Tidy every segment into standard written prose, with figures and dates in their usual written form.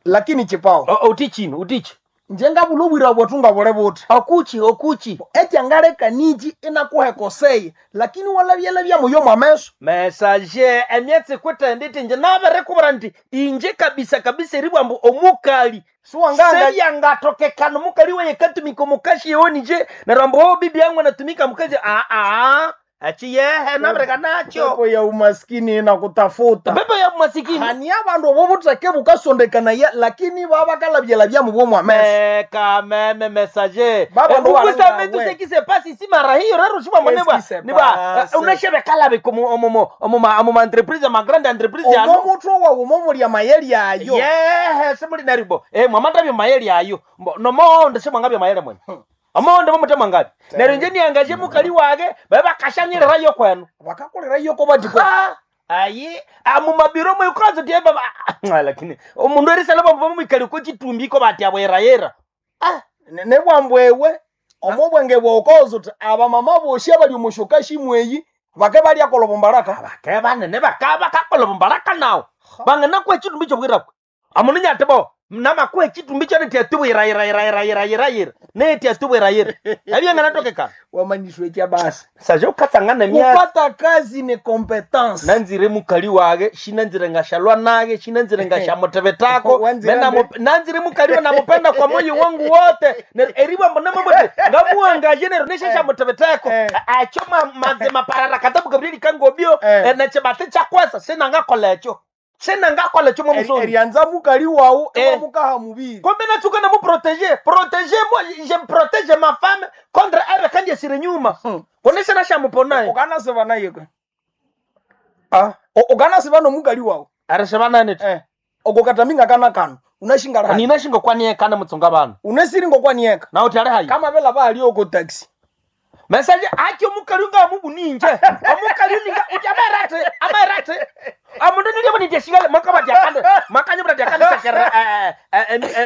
Lakini chipao Utichi utichi. Nje ngabula obwira bwetu nga buli buthi. Okuchi okuchi. Ekyangaleka niki inakuhekoseye, lakini walabyalabya muyo mwameso. Message emyatsi kwitende iti nje nabirekubwira nti inje kabisa kabisa eribwa mbu omukali Siwanganga sebyangatokekana omukali weye katumika omukashi yewe nije neryo ambu oh, bibi yangu anatumika mukazi aa achiyehe nabireka nakyo. Pepo ya umaskini inakutafuta. Pepo ya masikini. Hani abandu obo butheke bukasondekanaya, lakini babakalabyalabya mubwo mwameso. Meka meme messager. Baba ndo Vous savez tout wawe. ce qui se passe ici mara hiyo rero shibwa Qu'est-ce monebwa qui se niba passe? unashebekala be komo omo omo omo entreprise ma grande entreprise Omo yano. mutwe wawu momulya mayeli ayo. Yehe simuli naribo mwamata byo mayeli ayo. Nomonde simwangabyo mayele mwene. Omonde momute mwangabi neryo nje niangaje mukali wage babe bakashanyirira yo kwenu. Bakakolera yo ko batiko. Ah, ayi amumabiro mwikozo tie baba. Lakini omundu erisala bamba mwikali ko chitumbi ko bati abwerayera. Ah. Nebwambwewe omo bwenge bwokozo uti abamama boshi abali omushoka shimweyi bake balyakola obumbaraka. Bake banene bakaba kakola mbaraka nawo bangana kwa chitumbi chobwirakwe amununya bo namakwa echitumbi cho neti atubwirayirayirayirayira neti atubwirayira ebyanganatokeka. Wamanyishwe kya basi. Saje ukatsangana myatsi. Kupata kazi ni competence. Nanzire mukali wage shinanzire ngashalwa nage shinanzire ngashamutebetako. Wanzire Nanzire mukali namupenda kwa moyo wangu wote. Eribwa mbona mambo ngamuangaje nero neshashamutebetako. Acho mazima parara katabu Gabriel kangobio. Nechebate chakwasa sinangakola echo sinangakola echo mwamusoni. Erianza mukali wawu ewamukaha mubiri. Kumbe natsuka na muprotéger protéger moi je me protège ma femme contre elle kandi esire nyuma konesha nashamuponaye. Ukanasiba naye kwe. Ah. Ukanasiba nomukali wawu. Arashabanane. Okokataminga kana kano unashingala hayi. Ninashinga kwaniye kana mutsunga bana. Unesiringo kwanieka. Na utale hayi. Kama vela bali oko taxi. Message acho mukali nga mubuninje omukali ninga uti amerate amerate amundu nilye boni teshigale makaba dyakande makanye bra dyakande sakera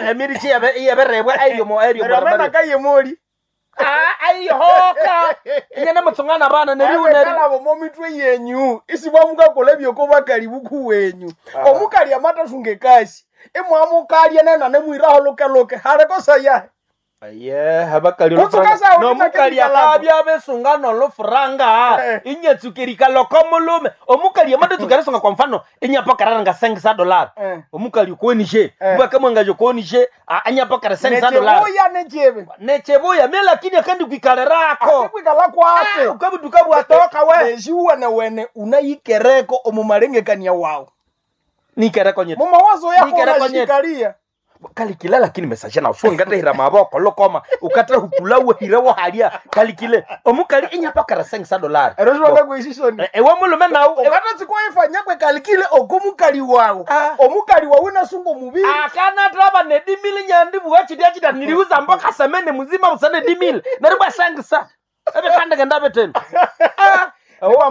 emirichi yabe yaberebwa ayo mo ayo Neryo amena kayemoli. Ah, ayihoka inyana mutsungana bana neriu neri. Kalabo mo mitwe yenyu isibwamukakola ebyoko bakali buku wenyu. Omukali amatasunga ekasi imwamukalya nena nemwiraho lukeluke halekosa yahe. Aye abakali Kutsuka sawo nomukali ndinakendikalapo. akabya besunga nolofuranga inyatsukerika loko mulume omukali amatutsukeresunga kwa mfano inyapakarara sengisa dollar. Omukali konishe ubakamwangaje konishe anyapakara sengisa dollar. Nechebuya nechebe. Nechebuya me lakini akandi kwikalerako. Asikwikala kwake. Ukabuduka bwatoka we. Neshiwene wene unayikereko omumalengekania wawu. Nikereko nyeti. Mumawazo yako Nikereko nyeti. unashikalia. Kalikile lakini message na usuo ngatahira maboko lokoma ukatra hupula wehira wahalia kalikile omukali inyapakara sengisa dollar. Eroshoka kuishishoni. Ewe mulume nawu Ukatatsikoifanya kwe kalikile okomukali wawu. Ah. Omukali wawu nasunga omubiri. Akana traba nedimili nyandi buwa chidia chida niliuza mboka semene muzima usane dimili naribwa sengisa ebe kande genda beteni ah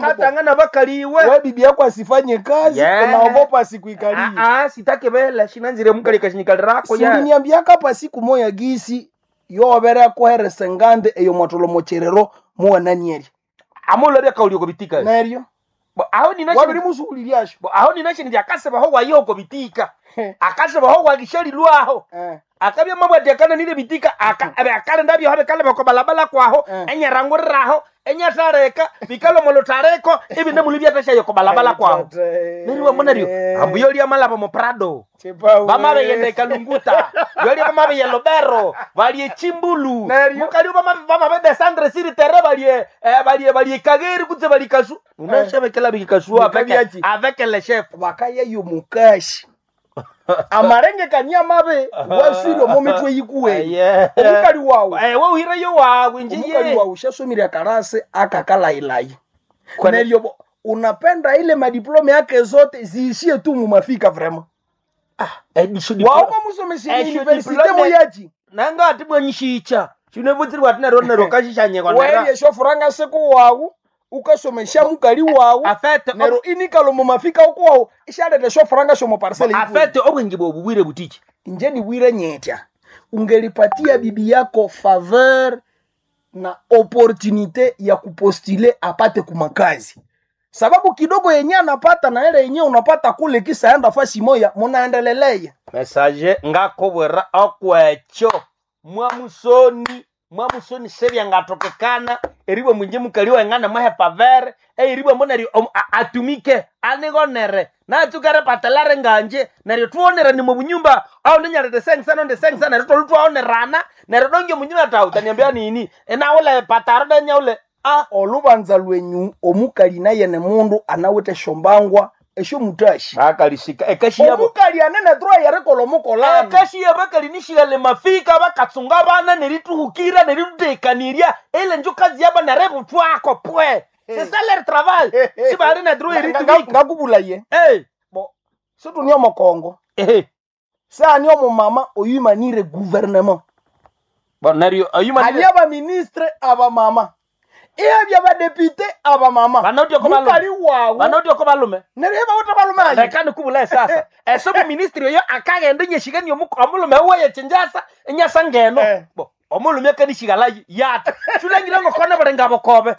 katanga bakaliwe. We bibi yako asifanye kazi. Yeah. Unaogopa asikuikalie. Ah ah sitake bela shinanzire mukali kashinyikalirako ya. Uliniambiaka hapa siku moya gisi yobere kuheresa ngande eyo mwatolo mocherero muwananieri. Amulo bya kauli ko bitika. Neryo Aho nina wabiri musuhulilyasho. Aho nina shinja akasebaho wayo ko bitika akasebaho wagishalilwaho. Akabya mabwati akana nile bitika aka abe akale ndabyo habe kale bako balabala kwaho. Enyaranguriraho enyatareka bikalo molotareko ibi nemuli byatashayo ko balabala kwaho neriwa monario ambu yoli amalaba mo Prado. Bamabe yende kalunguta yoli bamabe ye lobero balie chimbulu. Neryo. Mukali bamabe bamabe desandre siri terre balie balie balie kageri kutse bali kasu unashabekela bikasua avec Bikabyaki. avec le chef. Bakayeyo mukashi amarengekania mabe waswire omo mitwe yikuweni. Omukali wawu. We uhireyo wawe Omukali njiye. wawu shasomire akarase akakalayilayi neryo unapenda ile madiplome yake zote ziishie tu mumafika vrema. Wauko musomeshe Esho universite diplome- muyachi. Nanga ati mwanyishicha chinevutsirwa ati nero nero kashishanyekwa nera. Weye shofuranga siku wawu ukasomesha mukali wawu. Afete Nero inikalo mumafika uku wawu ishaleta shofuranga shomo parcel ikuwe. Afete obwingi bwobubwire butichi. Nje niwire nyetya ungelipatia bibi yako faveur na opportunité ya kupostule apate kumakazi. Sababu kidogo yenye anapata na ile yenye unapata kule kisa enda fasi moya munaendeleleya. Message ngakubwira okwekyo mwamusoni mwamusoni sebyangatokekana eribwa munje mukali wengana mwahe pavere eribwa mbo neryo atumike anigonere natsukere patelare nganje neryo tuonerane mubunyumba au ninyalete sengisana onde sengisana neryo tolu twaonerana neryo donge munyumba tau taniambia nini enaule pataro denyaule ah. Olubanza lwenyu omukali naye ne mundu anawite esyombangwa esyomutashi. Bakalishika ekashi yabo. Omukali anene droit yerikola omukolano. Ekashi yabakali nishilale mafika bakatsunga bana nerituhukira neritutekanirya ile njo kazi yabo nerebutwako pwe. C'est ça leur travail. Si bali na droit eritumika. Ngakubulaye. Eh. Bo situni omukongo. Eh. Sani omumama oyumanire gouvernement. Bon neryo ayuma Hali abaministre abamama. Ebya badepite abamama. Banotyo ko balume. Mukali wawu. Banotyo ko balume. Neryo ebawuta balume ayi. Reka nikubulaye sasa. Eso bu ministry oyo akagenda nyeshigani omulume waye chinjasa enyasa ngeno. Eh. Bo omulume kanishigala yata. Shulangira ngokona balenga bokobe.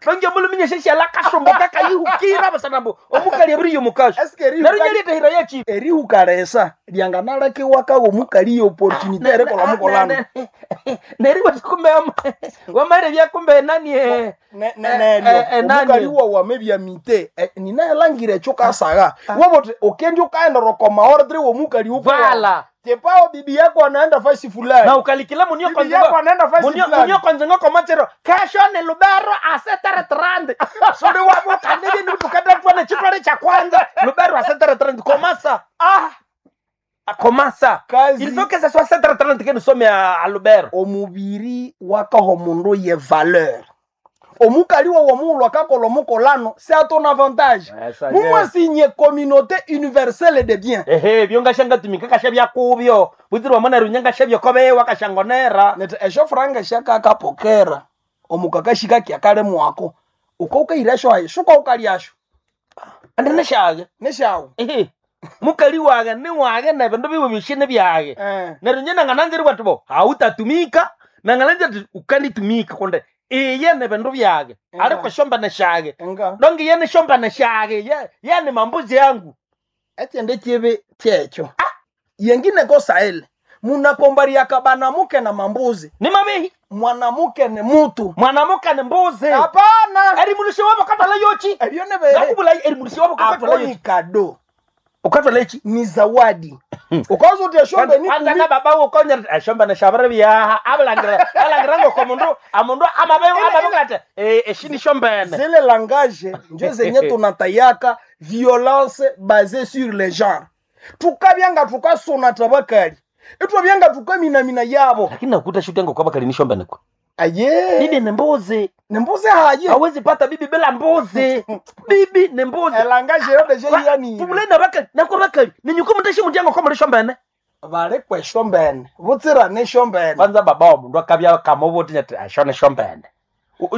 Longe omulume nyesheshala kasumbuka kayihukira basanambo omukali ebiri yomukasho. Eske erihuka- Neryo nyelete hira yachi. erihukalesa lyanganalekiwakawo omukali opportunité erikola omukolano. Neryo kumbe wamare byakumbe nani eh. Neryo nani? omukali wawu amebyamite ninaelangire ekyo kasaga wobote okendi ukaendera okoma ordre womukali Vala. tepao bibi yako anaenda fasi fulani Na ukalikila munio bibi yako anaenda fasi munio fulani munio konzengo komachero kesho ni lubero asetere trend sori wabo kanebe ni tukata tuone chitwale cha kwanza lubero asetere trend komasa ah komasa kazi il faut que ça soit setere trend que nous sommes à lubero. Omubiri wakaho omundu ye valeur omukali wawu omughulhu akakola omukolano c'est à ton avantage. Mumwasinye communauté universelle de biens. Ehe byonga tumika kasha byakubyo butsirwa mona runyanga shabyo kobewa kashangonera. Neti esyo franga syakakapokera omukakashika kyakale mwako uka ukairasyo hayi suka ukalyasyo. Andene shage nesyawu. Ehe mukali wage ni wage nebindu biwe bishine byage. Eh. Neryo nye nangananziri bwati bo hautatumika nangananziri ati ukanitumika konde iye nebindu byage. Enga. Ariko shombane shage. Enga. Donge yene shombane shage ye yene mambuzi yangu. Ekyende kibi kyekyo yengine kosaele munakombariaka banamuke na mambuzi. Ni mabehi. Mwanamuke ni mutu. Mwanamuke ni mbuzi. Hapana. Eri mulushe wabo katwala yochi. Ebyo nebe Ngakubula eri mulushe wabo katwala ako ni yochi. kado. Ukatwala yochi. Ni zawadi ukaza uti eshombe ni kwanza na baba ukonya eshombe neshabere byaha abalangira abalangira ngoko mundu amundu amabe amabe kate eh eshini shombene. Zile langage njo zenye tunatayaka violence basée sur le genre tukabyanga tukasona tabakali itwabyanga tukaminamina yabo. Lakini nakuta shuti yangu kwaba kali ni shombene kwa Aye. Bibi ni mbuzi. Ni mbuzi haye. Hawezi pata bibi bila mbuzi. Bibi ni mbuzi. Elangage yo deje yani. Tumulenda bakali nako bakali ninyuko mundu shi yangu kwa muri shombene. Bali kweshombene butsira ne shombene. Kwanza baba wa mundu akabya kamoboti nyati ashone shombene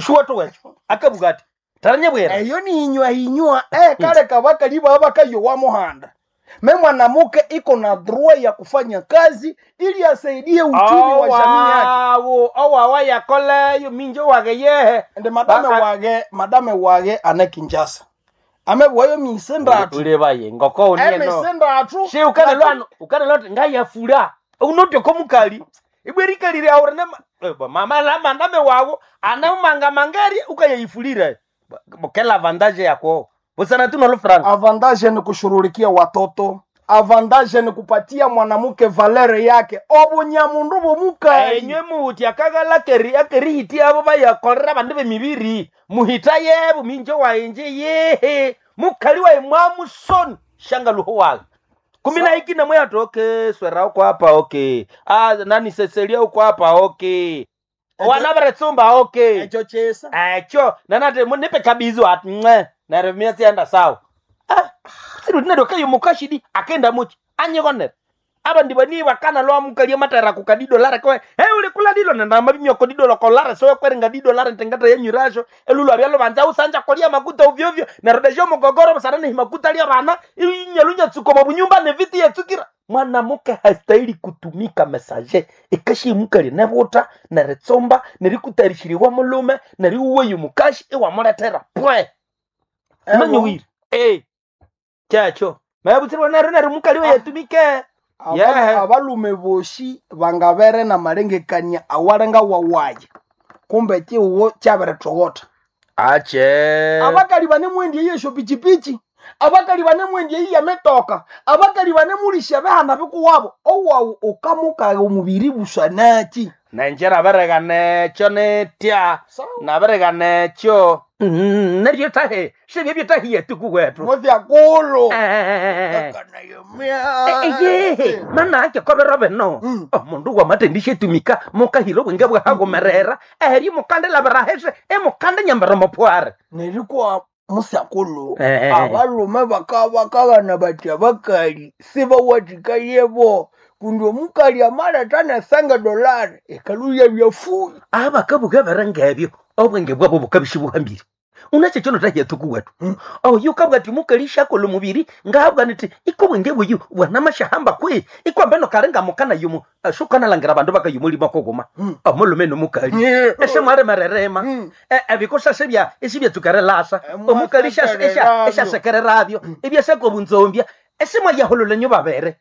shuwa to wecho akabugati taranyabwera. Eyo ni inywa inywa kale kabakali baba bakayowa muhanda me mwanamuke iko na droit ya kufanya kazi ili asaidie uchumi wa jamii yake. Awo owawa yakoleyo minjo wage yehe. Ende madame wage madame wage ane Kinshasa amebwayo misendatu. Ulebaye ngoko unieno Emisendatu. She ukane lwano ukane lwano ngayafura unotyo komukali ibwerikalire aure ne mama la mandame wawo anamanga mangari ukayayifulira bokela avantage yako busana tu nolo franc. Avantage ni kushurulikia watoto, avantage ni kupatia mwanamke valere yake obunyamundu bumukali. Enywe muhuti akagala keri akerihiti abo bayakolera bandu bemibiri muhita yebo minjo waenje yehe mukali wae mwamusoni shanga luho wage kumi na hiki namwe ati okay swera uko hapa okay ah nani seselia uko hapa okay wana baretsumba okay. Echo chesa. Echo nanate nipe kabizo ati mwe neryo miatsi sawa ah siru tinado kayo mukashidi akenda muchi anyikonera aba ndibo ni bakana lwa mukalia matara kukadido lara kwe hey uli kula dilo nenda mabimyo ko dido loko lara so kweringa dido lara ntengata yenyurasho elulu abyalo banza usanja kolia makuta ovyo ovyo narodesho mugogoro basana ni makuta lia bana inyalunya tsuko mabunyumba ne viti yetsukira mwanamuke hastahili kutumika message ikashi mukali nebuta neritsomba nerikutarishiriwa mulume neriuweyu mukashi iwamuletera pwe. Nanyowire. Kyakyo. Mabutsirwa nero nero mukali we yatumike. Abalume boshi bangabere na malengekania awalenga wawaye. Kumbe kiwo kyabiritogota. Ache. Abakali banemwendi eyesho pichipichi. Abakali banemwendi eyiya metoka. Abakali banemulisha behana bikuwabo. Owawu ukamukaga omubiri busanaki. Nenjera bereganekyo netya. Nabereganekyo. Neryo tahe. Sibye tahiye tukuwetu. Muthyakulu. Eyehe manake kobero bino omundu wamatendishetumika mukahira obwenge bwahagomerera eri mukandilabirahese emukande nyambera mopware Nerikwa musyakulu abalume bakabakabana bati abakali sibawathikayebo kundi omukali amaletha nesanga dolari ekaluya byafuyi abakabuka berengebyo obwenge bwabo bukabisi buhambire unakyo kyono tahyatukuwetu oyu kabwati mukali shakola omubiri ngahabwa niti iko bwenge buyu bwanamashahamba kwe ikwambe nokarenga mukana yumu shukanalhangira abandu bakayumulima kogoma omulume nomukali ese mwaremererema ebikosa sebya esibyatsukerelasa omukali eshasekererabyo ebyasaka obunzombya ese mwayahulula babere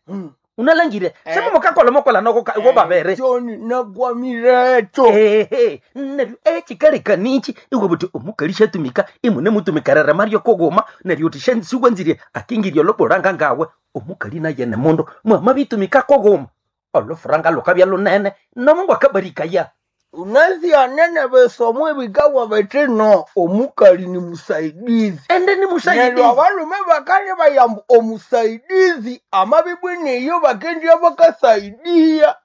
unalangire semo mukakola mokola noko wo babere John nakwamiretho ehe neryo ekikalekanichi iwe buti omukali shatumika imune mutumikerere maryo kogoma neryo uti shensiwanzire akingirya olobulanga ngawe omukali naye ne mundu mwamabitumika kogoma olufuranga lukabya lunene nomungu akabarikaya unasianene besomo ebikawa betino omukali ni musaidizi ende ni neryo musaidizi abalume bakali bayamba omusaidizi amabibwiniyo bakendya bakasaidia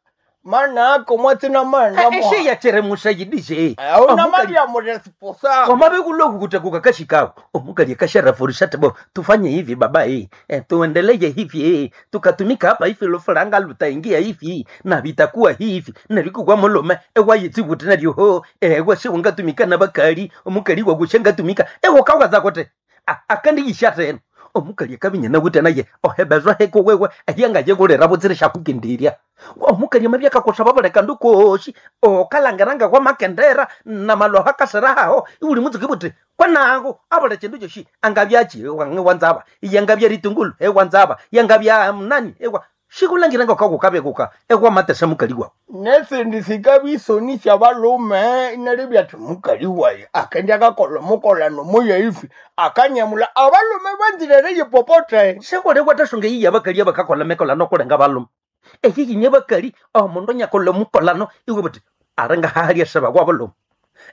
manako mwatsina mana esheyachere musaidizi unamalya muresposa wamabekuloku kutakuka kashikawo omukali akasharafurisha tebo tufanye hivi baba tuendeleye hivi tukatumika hapa hivi lufuranga lutaingia hivi na vitakuwa hivi nerikugwa mulume ewayitsibuti naryo ewe siungatumika na bakali omukali wakushangatumika ewo kawaza kote akandiyisha tena omukali akabinya nawute naye ohebezwa heko wewe eyangayekulera butsire shakukindirya omukali amabyakakusaba buleka ndukoshi okalangeranga kwamakendera namaloha kaserahaho iuli mutsuki buti kwanako abula chindu choshi angabyachi wanzaba yangabya ritungulu ewanzaba yangabya nani ewa shikulangiranga kakukabekuka ekwamatesa mukali wawu nesindi sikabisoni syabalume inalibya thi mukali wayi akendya kakola omukolano muya ifi akanyamula abalume banzirere yipopote sekole kwatasonga iyi abakali abakakola mekolano kulenga balume eyiyinya bakali omundu anyakola omukolano iwe buti arenga hahalya seba kwa bulume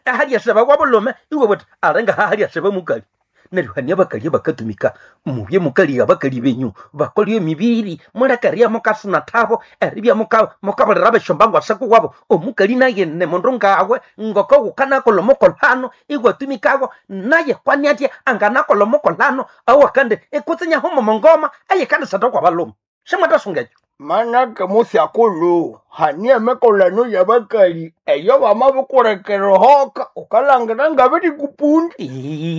ahalya seba kwa bulume iwe buti arenga hahalya seba mukali neryo hania abakali abakatumika mubye mukali abakali benyu bakolye emibiri mulekaria mukasuna thabo eribya mukabulira beshomba ngwasako wabo omukali naye ne mundu ngawe ngoko gukanakola omukolano iwatumikago naye kwani atya anganakola omukolano awakandi ikutsinyaho momongoma aye kandi sata kwa balume simwatasunga ekyo manake musyakulu hania emikolano yabakali eyo bamabikulekera hoka ukalangira ngabiri kupundi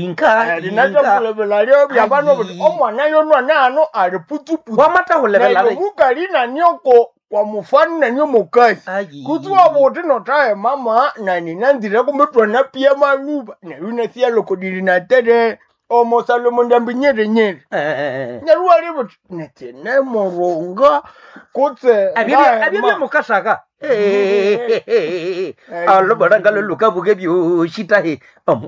inga linathakulebela byabano buti omwana yonwana ano ali putuputu wamatahulebela neryo mukali nanioko kwa mufano nanyo mukali kutsi wabuti notahe mama nani nanzire kumbe twanapia maluba neryo inasiya loko dili natere omosalomo ndambi nyerinyeri neryo wali buti netinemurunga kutse abyo byamukasaka alobolanga lolukabuke byoshitahe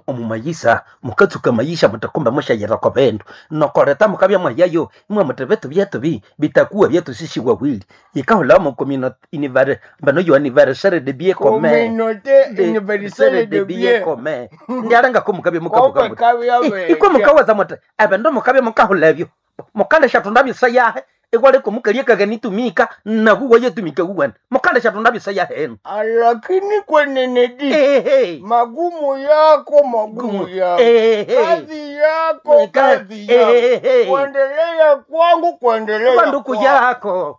omumayisa mukatsuka mayisha mutakumba mushayira kwa bendu nokoreta mukabya mwayayo imwe muti bitu byetu bi bitakuwa byetu sisi wawili ikahula mu communauté bano yo anniversaire de bien commun communauté universelle de bien commun ndialanga ko mukabya mukabuka kombe muti kabya ikwe mukawaza muti ebindu mukabya mukahula ebyo mukandesha tunda bisa yahe ikwaleko mukaliekaga nitumika nakuwa yetumika kuwena mukandesha tunda bisa yahe enu lakini kwenenedi Ehe. magumu yako magumu yako Ehe. kazi yako kazi yako Ehe. kuendelea kwangu kuendelea banduku kwako. yako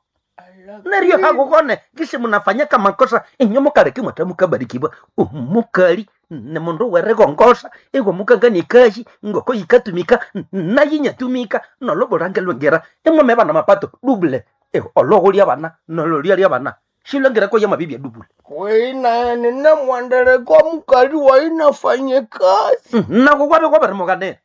neryo hakukone kisi munafanyaka makosa inyo mukaleke mwata mukabarikibwa omukali ni mundu werikongosa iwe mukangania kashi ngoko yikatumika nayinyatumika nolobulange lwengera imwame bana mapato dubule olohulya bana nololya bana shilwengerako yamabibya dubule wina nina mwandeleko mukali wainafanye kazi nako kwabe kwabarimukane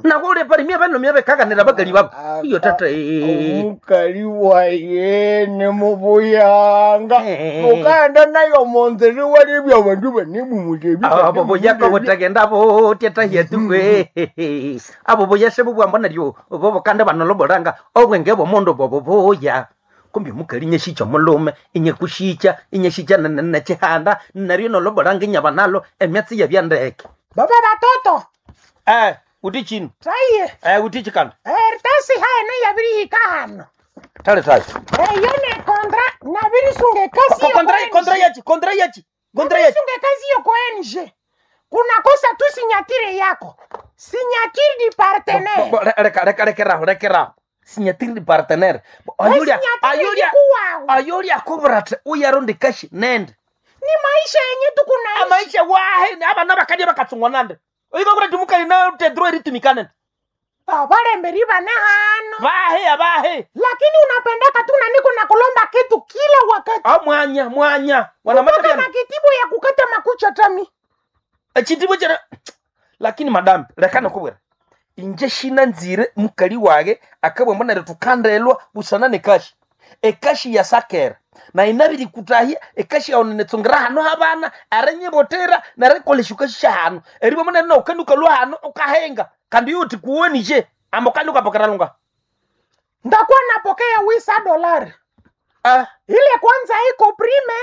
Nawe uli pali mya balomya bekaganira bakali babo. Iyo tata. Omukali waye ni mubuyanga. Eh. Ukaenda nayo munzira iwalebya abandu banemumulebi. Abo buyaka butagenda butya tahiyetukwe. Abo buyase bubwambo naryo bobo kandi banolobolanga obwenge bw'omundu bobo buya. Kumbi omukali nyeshicha omulume inyekushicha inyeshicha nechihanda naryo nolobolanga inyaba nalo emyatsi yabyandeke. Baba batoto Eh, uti chino. taye Eh, uti chikanda. eritasi haeno yabirihika hano Tale tale. eyo ne kontra nabirisunga ekasi Kontra kontra yachi, kontra yachi. Kontra yachi. nabirisunga ekazi yoko NG kunakosa tu sinyatire yako sinyatire di partenaire Bo, Reka reka rekeraho rekeraho. Sinyatiri di partenaire. Bo, Ayulia sinyatire ayulia ikuwawe. ayulia kubra uyarundi kashi nende. Ni maisha yenye tukunaishi Amaisha wahe abana bakadya bakatsungwa nande. Oiko kuti mukali na tedro eritumikane. abalemberi bana hano Vahe abahe. lakini unapendaka tu naniko na kulomba kitu kila wakati Ah mwanya mwanya. Wana mpaka mata na kitibu ya kukata makucha tami Echitibo chera lakini madam lekana kubwera. Inje shina nzire mukali wage akabwe mbona tukandelwa busana nekashi. Ekashi ya sakera. Na inabiri kutahia ekashi yaone netsongra hano habana aranyebotera narekoleshuka hano. Eribo mbona na ukanduka lwa hano ukahenga. Kandi yuti kuonije ambokanduka pokeralunga. ndakuwa napokea wisa dolari Ah ile kwanza iko prime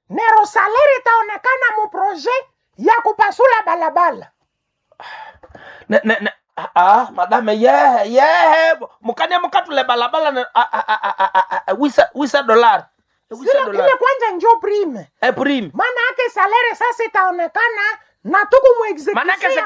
nero salari itaonekana mu projet ya kupasula balabala ne ne ne ah madame yehe yehe mukane mukatule balabala ne ah, ah, ah, ah, ah, ah, wisa wisa dollar wisa ile, dollar ile kwanza njo prime eh prime maana yake salari sasa itaonekana na tuku manake muexekusia